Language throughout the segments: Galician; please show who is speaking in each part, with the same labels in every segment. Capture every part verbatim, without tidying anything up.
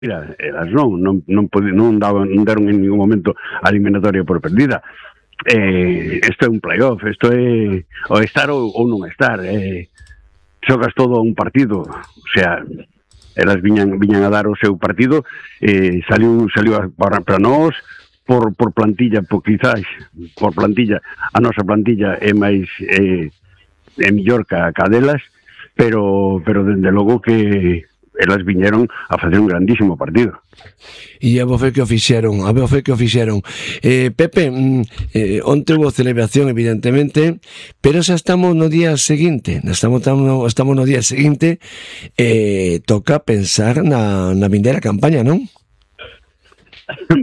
Speaker 1: Mira, elas non, non, non, podi, non, daban, non deron en ningún momento a eliminatoria por perdida. Eh, isto é un playoff, isto é o estar ou, ou non estar. Eh, xogas todo un partido, o sea, elas viñan, viñan a dar o seu partido, eh, saliu, saliu para, para nós, por, por plantilla, por quizás, por plantilla, a nosa plantilla é máis, eh, é millor que a delas, pero, pero dende logo que elas viñeron a facer un grandísimo partido.
Speaker 2: E a vos fe que o fixeron, a vos fe que o fixeron. Eh, Pepe, eh, onte hubo celebración, evidentemente, pero xa estamos no día seguinte, estamos, estamos no día seguinte, eh, toca pensar na, na vindeira campaña, non?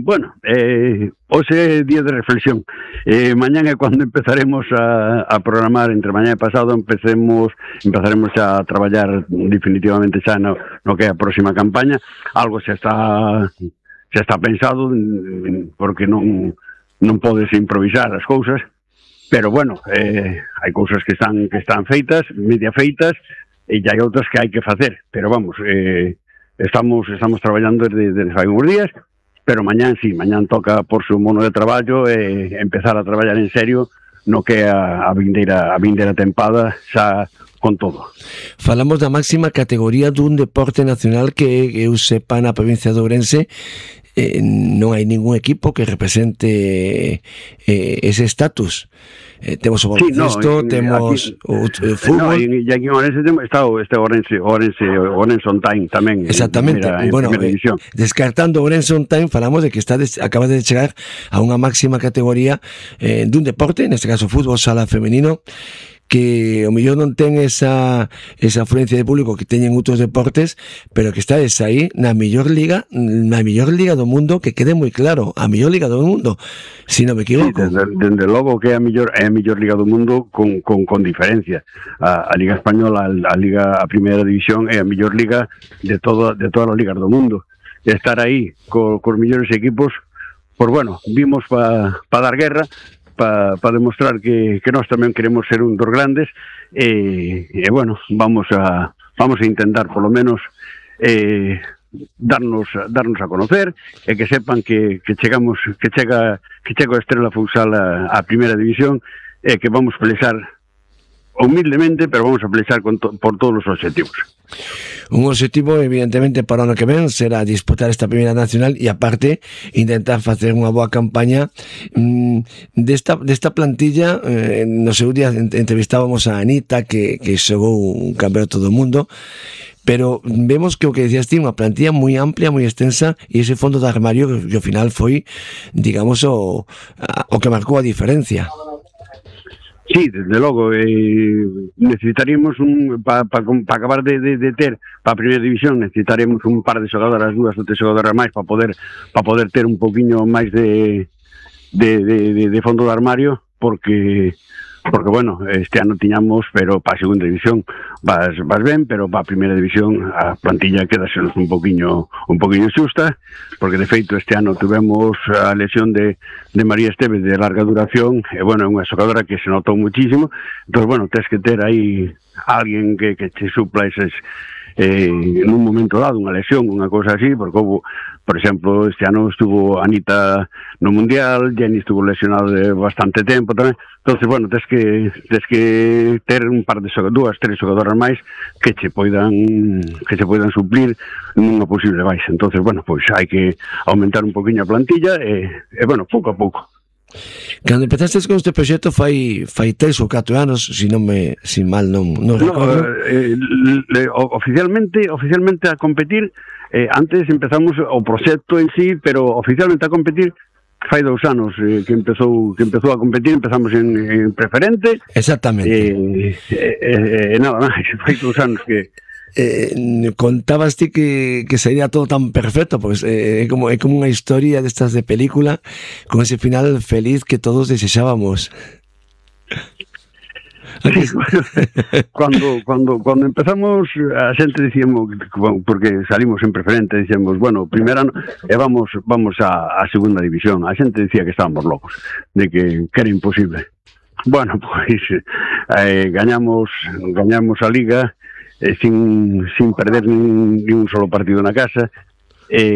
Speaker 1: Bueno, eh, hoxe é día de reflexión. Eh, mañán é cando empezaremos a, a programar, entre mañán e pasado empecemos, empezaremos a traballar definitivamente xa no, no que é a próxima campaña. Algo xa está xa está pensado, porque non non podes improvisar as cousas, pero bueno, eh, hai cousas que están que están feitas, media feitas, e hai outras que hai que facer, pero vamos, eh, estamos estamos traballando desde, desde fai uns días. Pero mañán sí, mañán toca por su mono de traballo e eh, empezar a traballar en serio no que é a, a vindeira a vindeira tempada xa con todo.
Speaker 2: Falamos da máxima categoría dun deporte nacional que eu sepa na provincia de Ourense, eh, non hai ningún equipo que represente eh, ese estatus. Eh, temos o baloncesto, sí, no, temos aquí, o, o fútbol. No,
Speaker 1: e aquí en Ourense está o este Ourense, Ourense, Ourense on Time tamén.
Speaker 2: Exactamente. En, en bueno, eh, descartando Ourense on Time, falamos de que está des, acaba de chegar a unha máxima categoría eh, dun deporte, neste caso fútbol sala femenino, que o mellor non ten esa esa afluencia de público que teñen outros deportes, pero que estades aí na mellor liga, na mellor liga do mundo, que quede moi claro, a mellor liga do mundo, se non me equivoco.
Speaker 1: Sí, desde, desde logo que é a mellor é a mellor liga do mundo con, con, con diferencia. A, a Liga Española, a, a Liga a Primeira División é a mellor liga de todo de todas as ligas do mundo. E estar aí co, cos mellores equipos, pues bueno, vimos para pa dar guerra, para pa demostrar que, que nós tamén queremos ser un dos grandes e, e bueno, vamos a vamos a intentar polo menos eh, darnos darnos a conocer e que sepan que, que chegamos que chega que chega a Estrela Futsal a, a Primeira División e que vamos a pelexar humildemente, pero vamos a pelexar con to, por todos os objetivos.
Speaker 2: Un objetivo, evidentemente, para o ano que ven será disputar esta primeira nacional e, aparte, intentar facer unha boa campaña mmm, desta, desta plantilla. Eh, no seu día entrevistábamos a Anita, que, que xogou un campeonato do mundo, pero vemos que o que decías ti, unha plantilla moi amplia, moi extensa, e ese fondo de armario que, que ao final foi, digamos, o, o que marcou a diferencia.
Speaker 1: Sí, desde logo, eh, necesitaríamos un para pa, pa acabar de, de, de ter para a primeira división, necesitaríamos un par de xogadoras, dúas ou tres xogadoras máis para poder para poder ter un poquinho máis de de, de, de, de fondo de armario, porque porque bueno, este ano tiñamos, pero para a segunda división vas, vas ben, pero para a primeira división a plantilla quedase un poquinho un poquinho xusta, porque de feito este ano tuvemos a lesión de, de María Esteves de larga duración, e bueno, é unha xogadora que se notou muchísimo, entón bueno, tens que ter aí alguén que, que te supla eses eh, en un momento dado, unha lesión, unha cousa así, porque houve, por exemplo, este ano estuvo Anita no Mundial, Jenny estuvo lesionado de bastante tempo tamén, entonces, bueno, tens que tens que ter un par de xogadoras, dúas, tres xogadoras máis que che poidan que che poidan suplir nunha posible baixa, entonces, bueno, pois hai que aumentar un poquinho a plantilla e, e bueno, pouco a pouco.
Speaker 2: Cando empezastes con este proxecto fai fai tres ou catro anos, se non me si mal non non recordo.
Speaker 1: No, eh, le, oficialmente oficialmente a competir, eh, antes empezamos o proxecto en sí, pero oficialmente a competir fai dous anos eh, que empezou que empezou a competir, empezamos en, en preferente.
Speaker 2: Exactamente.
Speaker 1: E eh, eh, eh, nada máis, fai dous anos que
Speaker 2: Eh, contabas ti que, que sería todo tan perfecto, pues eh, é como é como unha historia destas de película, con ese final feliz que todos desexábamos.
Speaker 1: Sí, cuando cuando cuando empezamos a xente dicíamos, porque salimos en preferente, dicíamos, bueno, primeiro ano e vamos vamos a, a segunda división. A xente dicía que estábamos locos, de que, que era imposible. Bueno, pois eh, gañamos gañamos a liga eh, sin, sin perder nin, nin un solo partido na casa, eh,